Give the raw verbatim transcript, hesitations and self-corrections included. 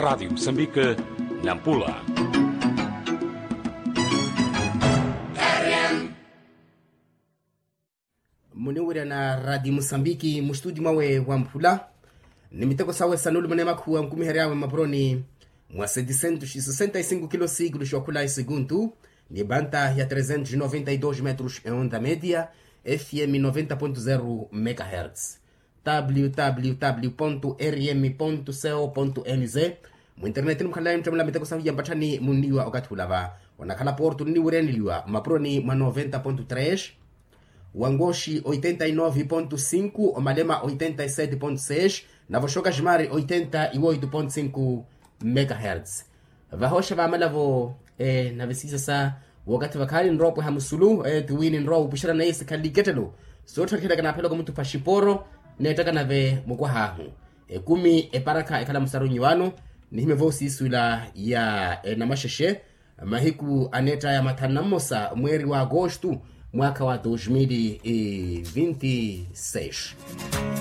Radiyo musambike, nampula. Muniwirya na radiyo musambiki mustudi mwawe wa mphula, ni miteko sawe sanulumane makhuwa nkumiheryaawe mmapuroni mwa setisentu sisesenta isingu kilo sikulu xookhula isikuntu, ni banta ya tresentu noventa idos metros eonda media, fm noventa pontu zero megahertz. Www rm co mz. Muinterneti nimukhalelayi muttamula miteko sahu ya mpatthani munniwa okathi ulava. Onakhala portu nniwireneliwa mmapuroni mwa noventa pontu tres, wangoxi oitenta inove pontu sinku, omalema oitenta isete pontu seis, navo xoka ximari oitenta iwoitu pontu sinku megahertz. Vahooxa vaamala-vo. Nave siisasa wookathi vakhaani nrowa opweha musulu, tiwini nrowa wupuxerana yesikhalili kettelo. Sootthakhelaka naaphela okamutupha xiporo, neettaka nave mukwahaahu. Ekumi eparakha ekhala musaru nyiwano. Nihimye vo siisuwela ya enamaxexe, mahiku aneettaya mathanu na mmosa mweeri wa agostu, mwaakha wa dos mil e vinte e seis.